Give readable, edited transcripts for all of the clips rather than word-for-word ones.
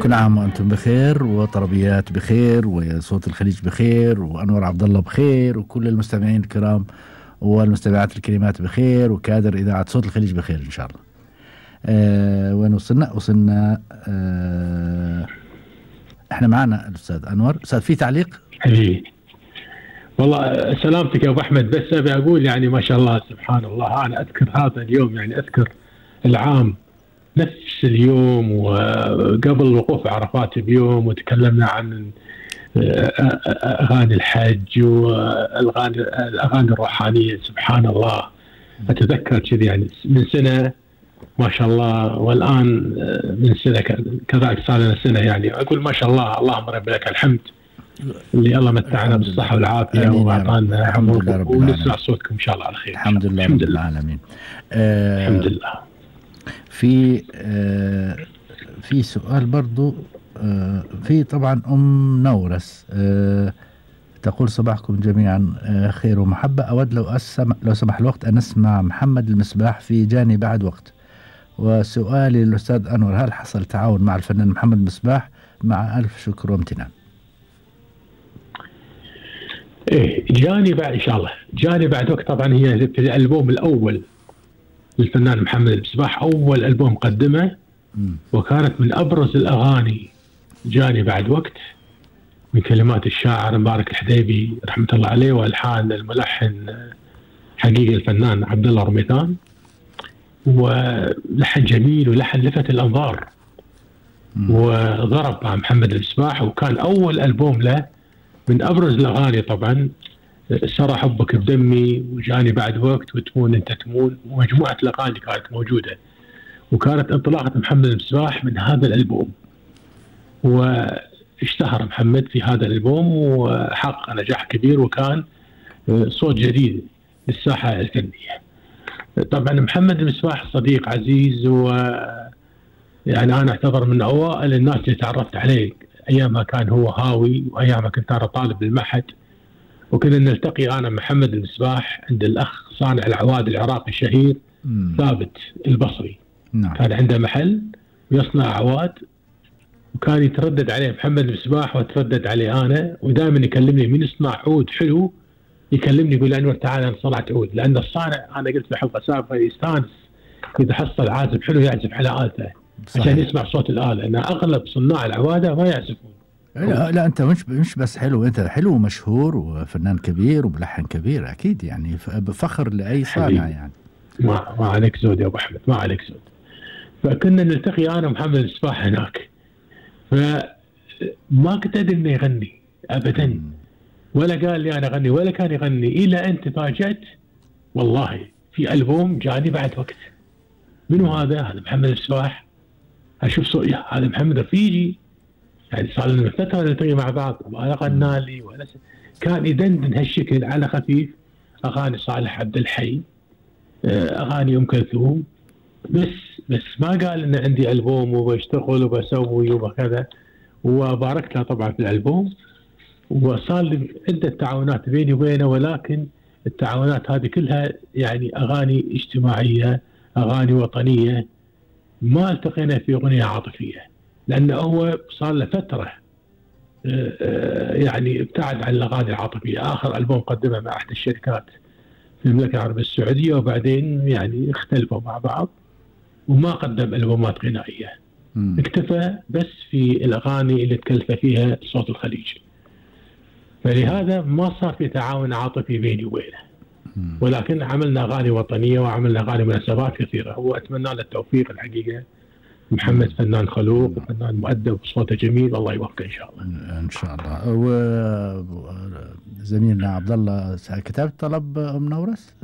كل عام وأنتم بخير، وطربيات بخير، وصوت الخليج بخير، وأنور عبد الله بخير، وكل المستمعين الكرام والمستمعات الكريمات بخير، وكادر إذاعة صوت الخليج بخير إن شاء الله. وين وصلنا احنا معنا الأستاذ أنور. أستاذ في تعليق؟ حبيبي والله سلامتك يا أبو أحمد، بس أبي أقول يعني ما شاء الله سبحان الله، أنا أذكر هذا اليوم، يعني أذكر العام نفس اليوم وقبل الوقوف عرفات بيوم، وتكلمنا عن أغاني الحج والأغاني الروحانية. سبحان الله أتذكر كذي يعني من سنة ما شاء الله، والآن من سنة كذلك صار لنا سنة، يعني أقول ما شاء الله. اللهم رب لك الحمد اللي الله متعنا بالصحة والعافية وأعطانا عمر، ونسمع صوتكم إن شاء الله على خير. الحمد لله رب العالمين. الحمد لله. في سؤال برضو في طبعا أم نورس تقول صباحكم جميعا خير ومحبة. أود لو سمح الوقت أن نسمع محمد المصباح في جاني بعد وقت. وسؤالي للأستاذ أنور، هل حصل تعاون مع الفنان محمد المصباح؟ مع ألف شكر وامتنان. إيه جاني بعد إن شاء الله، جاني بعد وقت طبعا هي في الألبوم الأول للفنان محمد المصباح، أول ألبوم قدمه، وكانت من أبرز الأغاني جاني بعد وقت، من كلمات الشاعر مبارك الحديبي رحمة الله عليه، والحان الملحن حقيقي الفنان عبد الله رميثان، ولحن جميل ولحن لفت الأنظار، وضرب مع محمد المصباح، وكان أول ألبوم له من أبرز الأغاني طبعا سرى حبك بدمي، وجاني بعد وقت، وتمون أنت تمون، ومجموعة الأغاني كانت موجودة، وكانت انطلاقة محمد المصباح من هذا الألبوم، واشتهر محمد في هذا الألبوم وحقق نجاح كبير، وكان صوت جديد للساحة الفنية. طبعا محمد المصباح صديق عزيز، يعني أنا أعتبر من أوائل الناس اللي تعرفت عليه أيام ما كان هو هاوي، وأيام ما كنت أنا طالب بالمعهد، وكنا نلتقي أنا محمد المصباح عند الأخ صانع العواد العراقي الشهير ثابت البصري. كان عنده محل ويصنع عواد، وكان يتردد عليه محمد المصباح وتردد عليه أنا، ودائما يكلمني من يصنع عود حلو، يكلمني يقول أنور تعال أنا صنعت عود، لأن الصانع أنا قلت في حلقة سابقة يستانس إذا حصل عازف حلو يعزف على آلته عشان يسمع صوت الآلة، لأن أغلب صناع العوادة ما يعزفون. لا أنت مش بس حلو، أنت حلو ومشهور وفنان كبير وملحن كبير أكيد، يعني بفخر لأي صانع يعني. ما عليك زود يا أبو أحمد، ما عليك زود. فكنا نلتقي أنا ومحمد المصباح هناك، فما كنت أدري إنه يغني أبدا، ولا قال لي أنا أغني ولا كان يغني، إلى أن تفاجأت والله في ألبوم جاني بعد وقت. منو هذا محمد المصباح، أشوف صوت هذا محمد رفيجي، يعني صار لنا فترة نلتقي مع بعض، ولا غنى لي ولا كان يدندن هالشكل على خفيف، أغاني صالح عبد الحي، أغاني أم كلثوم، بس ما قال إن عندي ألبوم وبشتغل وبسوي وكذا، وباركت له طبعا في الألبوم، وصار لي عدة تعاونات بيني وبينه، ولكن التعاونات هذه كلها يعني أغاني اجتماعية، أغاني وطنية، ما التقينا في أغنية عاطفية، لأنه هو صار له فترة يعني ابتعد عن الأغاني العاطفية. آخر ألبوم قدمه مع أحد الشركات في المملكة العربية السعودية، وبعدين يعني اختلفوا مع بعض وما قدم ألبومات غنائية، اكتفى بس في الأغاني اللي تكلف فيها صوت الخليج، فلهذا ما صار في تعاون عاطفي بيني وبينه، ولكن عملنا أغاني وطنية وعملنا أغاني مناسبات كثيرة، وأتمنى له التوفيق الحقيقة. محمد فنان خلوق وفنان مؤدب وصوته جميل، الله يوفقه إن شاء الله. إن شاء الله. وزميلنا عبد الله كتبت طلب أم نورس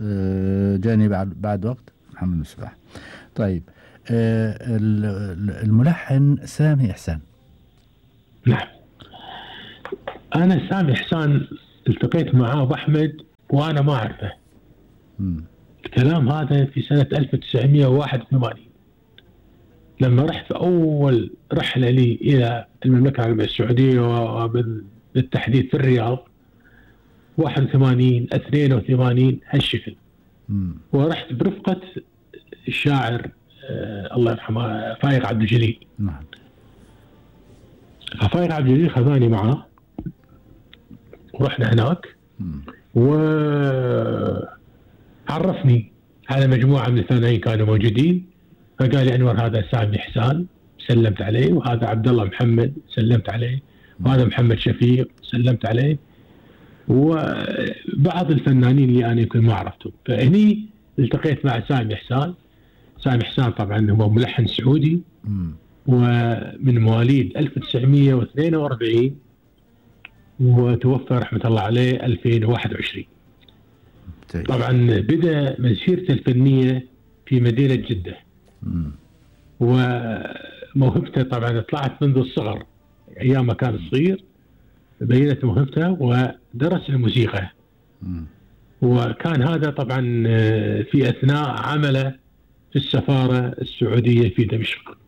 جاني بعد وقت محمد المصباح. طيب الملحن سامي إحسان. نعم، أنا سامي إحسان التقيت معاه أبو أحمد وأنا ما أعرفه. الكلام هذا في سنة 1981 لما رحت في أول رحلة لي إلى المملكة العربية السعودية، وبالتحديد في الرياض 81 82 هالشكل، ورحت برفقة الشاعر الله يرحمه فايق عبد الجليل. ففايق عبد الجليل خذاني معاه ورحنا هناك، وعرفني على مجموعة من الفنانين كانوا موجودين. فقال لي أنور هذا سامي إحسان، سلمت عليه، وهذا عبد الله محمد سلمت عليه، وهذا محمد شفيق سلمت عليه، وبعض الفنانين اللي أنا يمكن ما عرفتهم. فهني التقيت مع سامي إحسان. سامي إحسان طبعا هو ملحن سعودي، ومن مواليد 1942 وتوفى رحمة الله عليه 2021. طبعا بدأ مسيرته الفنية في مدينة جدة، وموهبته طبعا طلعت منذ الصغر، أيام ما كان صغير بينت موهبته ودرس الموسيقى. وكان هذا طبعا في أثناء عمله في السفارة السعودية في دمشق.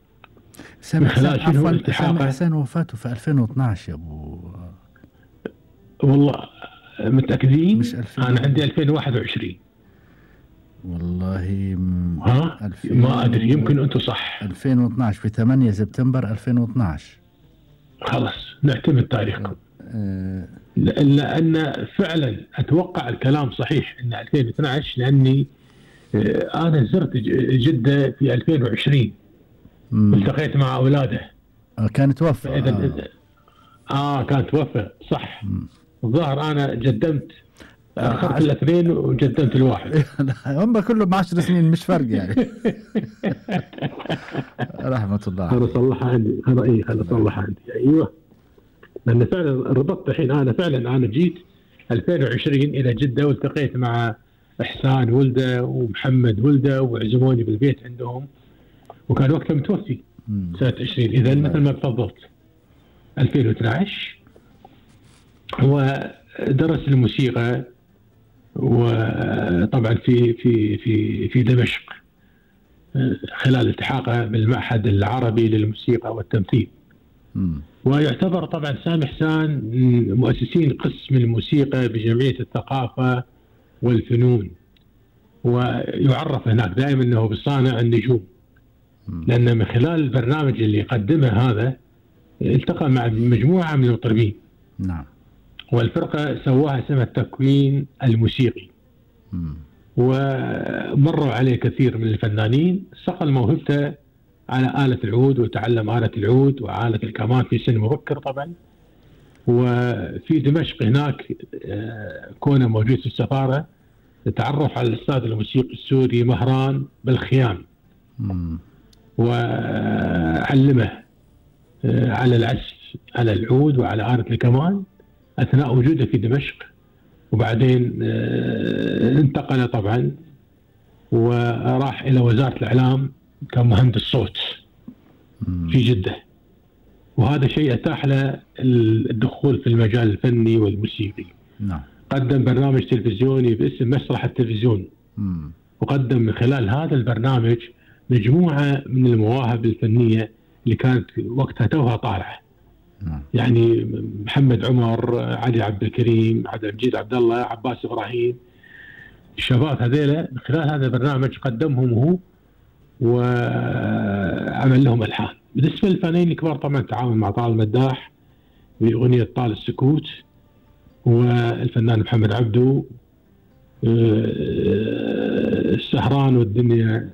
سامي حسين وفاته في 2012 يا أبو. والله متأكدين؟ مش أنا عندي 2021 والله. ما أدري، يمكن أنتم صح. 2012 في 8 سبتمبر 2012. خلاص نعتمد تاريخكم. لأن فعلا أتوقع الكلام صحيح أن 2012، لأني أنا زرت جدة في 2020 التقيت مع أولاده. كان توفى. كان توفى صح. الظاهر أنا جدمت، أخذت الاثنين وجدمت الواحد. هم كلهم 10 سنين مش فرق يعني. رحمة الله. أنا صلح عندي، أنا صلح عندي. أيوه، لأن فعلا ربطت الحين. أنا جيت 2020 إلى جدة والتقيت مع إحسان ولده ومحمد ولده، وعزموني بالبيت عندهم، وكان وقتها متوفي سنة 20. إذا مثل ما تفضلت 2012. هو درس الموسيقى، وطبعا في دمشق خلال التحاقه بالمعهد العربي للموسيقى والتمثيل. ويعتبر طبعا سامي إحسان من مؤسسين قسم الموسيقى بجمعية الثقافة والفنون، ويعرف هناك دائما أنه بصانع النجوم، لأن من خلال البرنامج اللي قدمه هذا التقى مع مجموعة من المطربين. نعم. والفرقة سواها اسمها التكوين الموسيقي. ومروا عليه كثير من الفنانين، صقل موهبته على آلة العود، وتعلم آلة العود وآلة الكمان في سن مبكر طبعا. وفي دمشق هناك كونه موجود في السفارة تعرف على الأستاذ الموسيقي السوري مهران بالخيام، وعلمه على العزف على العود وعلى آلة الكمان أثناء وجوده في دمشق. وبعدين انتقل طبعا وراح إلى وزارة الإعلام كمهندس صوت في جدة، وهذا شيء أتاح له الدخول في المجال الفني والموسيقي. نعم. قدم برنامج تلفزيوني باسم مسرح التلفزيون، وقدم من خلال هذا البرنامج مجموعة من المواهب الفنية اللي كانت وقتها توها طالعة. يعني محمد عمر، علي عبد الكريم، عبد المجيد عبد الله، عباس إبراهيم، الشباب هذيلا من خلال هذا البرنامج قدمهم هو وعمل لهم ألحان. بالنسبة للفنانين الكبار طبعا تعاون مع طال المداح بأغنية طال السكوت، والفنان محمد عبدو، السهران والدنيا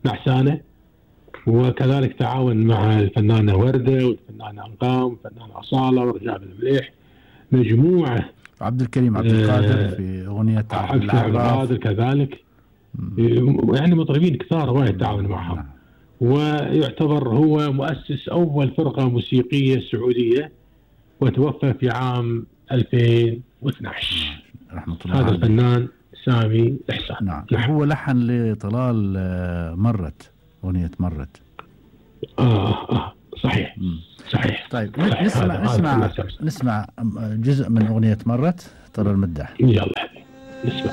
نعسانة. وكذلك تعاون مع الفنانة وردة والفنانة أنغام والفنانة أصالة ورجاء بن مليح، مجموعة. عبد الكريم عبد القادر في أغنية عبد القادر كذلك. يعني مطربين كثار وايد تعاون معهم. ويعتبر هو مؤسس أول فرقة موسيقية سعودية، وتوفى في عام 2012 رحمة الله. هذا الفنان سامي إحسان. نعم. هو لحن لطلال مرت، أغنية مرت. صحيح. صحيح. طيب نسمع جزء من أغنية مرت طلال المداح. يلا نسمع.